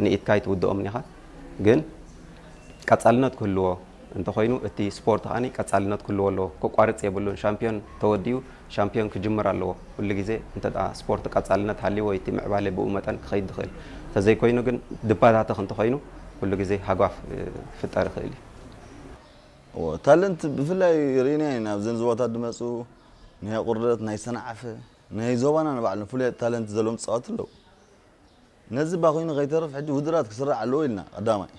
ንኢትካ ኣይትውድኦምን ኢኻ። ግን ቀጻልነት ክህልዎ እንተኾይኑ፣ እቲ ስፖርት ከኣ ቀጻልነት ክህልዎ ኣለዎ። ከቋርጽ የብሉን። ሻምፒዮን ተወዲኡ ሻምፒዮን ክጅምር ኣለዎ። ኩሉ ግዜ እንተ ደኣ ስፖርት ቀጻልነት ሃልይዎ፣ እቲ ምዕባለ ብኡ መጠን ክኸይድ ዝኽእል። እንተዘይኮይኑ ግን ድባታተኽ እንተኾይኑ፣ ኩሉ ግዜ ሃጓፍ፣ እ፣ ክፍጠር ይኽእል እዩ። እዎ፣ ታለንት ብፍላይ ርኢና ኢና። ኣብዘን ዞባታት ዝመጹ ናይ ቁርደት፣ ናይ ሰንዓፈ፣ ናይ ዞባና ንባዕሉ ፍሉይ ታለንት ዘለዎም ተጻወትቲ ኣለዉ። ነዚ ባኺኑ ከይተርፍ ሕጂ ውድድራት ክስራሕ ኣለዎ ኢልና ቀዳማይ።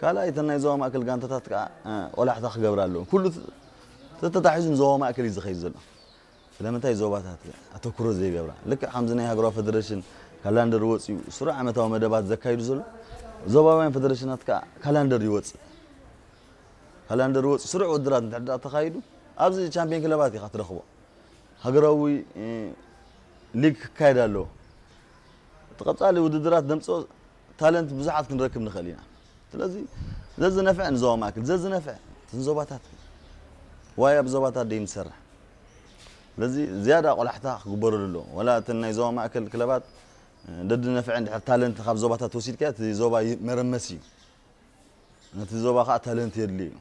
ካልኣይ፣ እተን ናይ ዞባ ማእከል ጋንታታት ከኣ፣ እ፣ ቆላሕታ ክገብራ ኣለዎ። ኩሉ ተ-፣ ተተታሒዙ ንዞባ ማእከል እዩ ዝኸይድ ዘሎ። ስለምንታይ ዞባታት ኣተኩሮ ዘይገብራ? ልክዕ ከምዚ ናይ ሃገራዊ ፌደሬሽን ካላንደር ወጺኡ ስሩዕ ዓመታዊ መደባት ዘካይዱ ዘሎ፣ ዞባውያን ፌደሬሽናት ከኣ ካላንደር ይወጽእ። ካላንደር ወጺኡ ስሩዕ ውድድራት እንድሕር ደኣ ተኻይዱ፣ ኣብዚ ቻምፒዮን ክለባት ኢኻ ትረኽቦ። ሃገራዊ፣ እ፣ ሊግ ክካየድ ኣለዎ። እቲ ቀጻሊ ውድድራት ዘምጽኦ ታለንት ብዙሓት ክንረክብ ንኽእል ኢና። ስለዚ ዘዝነፍዐ ንዞባ ማእከል፣ ዘዝነፍዐ እተን ዞባታት፣ ዋይ ኣብ ዞባታት ደይ ንሰርሕ። ስለዚ ዝያዳ ቆላሕታ ክግበረሉ ኣለዎ። ዋላ እተን ናይ ዞባ ማእከል ክለባት፣ እ፣ ደድነፍዐ እንድሕር ታለንት ካብ ዞባታት ወሲድካዮ፣ እቲ ዞባ ይ-፣ መረመሲ እዩ። ነቲ ዞባ ኸኣ ታለንት የድልዮ እዩ።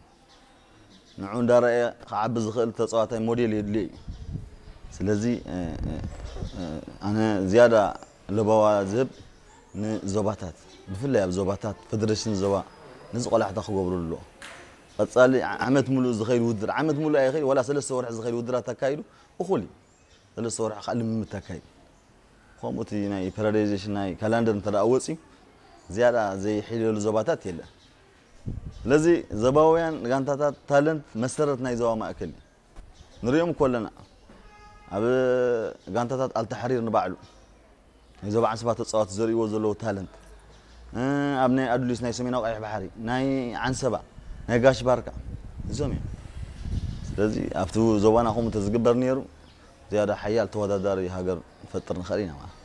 ንዑ እንዳረኣየ ክዓቢ ዝኽእል ተጻዋታይ ሞዴል የድልዮ እዩ። ስለዚ፣ እ፣ እ፣ እ፣ ኣነ ዝያዳ ለበዋ ዝህብ ንዞባታት፣ ብፍላይ ኣብ ዞባታት፣ ፌደሬሽን ዞባ ነዚ ቆላሕታ ክገብሩ ኣለዎ። ቀጻሊ ዓ-፣ ዓመት ሙሉእ ዝኸይድ ውድድር፣ ዓመት ሙሉእ ኣይኸይድ፣ ዋላ ሰለስተ ወርሒ ዝኸይድ ውድድራት ኣካይዱ እኹል እዩ። ሰለስተ ወርሒ ከዓ ልምምድ ተካይድ። ከምኡ እቲ ናይ ፔሪዮዳይዜሽን ናይ ካላንደር እንተ ደኣ ወፂኡ፣ ዝያዳ ዘይሕይለሉ ዞባታት የለን። ስለዚ ዞባውያን ጋንታታት ታለንት መሰረት ናይ ዞባ ማእከል እዩ። ንሪኦም እኮ ኣለና። ኣብ ጋንታታት ኣልተሕሪር ንባዕሉ ናይ ዞባ ዓንሰባ ተፃወቲ ዘርእይዎ ዘለዉ ታለንት፣ እ፣ ኣብ ናይ ኣዱሊስ ናይ ሰሜናዊ ቀይሕ ባሕሪ፣ ናይ ዓንሰባ፣ ናይ ጋሽ ባርካ፣ እዞም እዮም። ስለዚ ኣብቲ ዞባና ከምኡ እንተዝግበር ነይሩ፣ ዝያዳ ሓያል ተወዳዳሪ ሃገር ንፈጥር ንኽእል ኢና ማለት።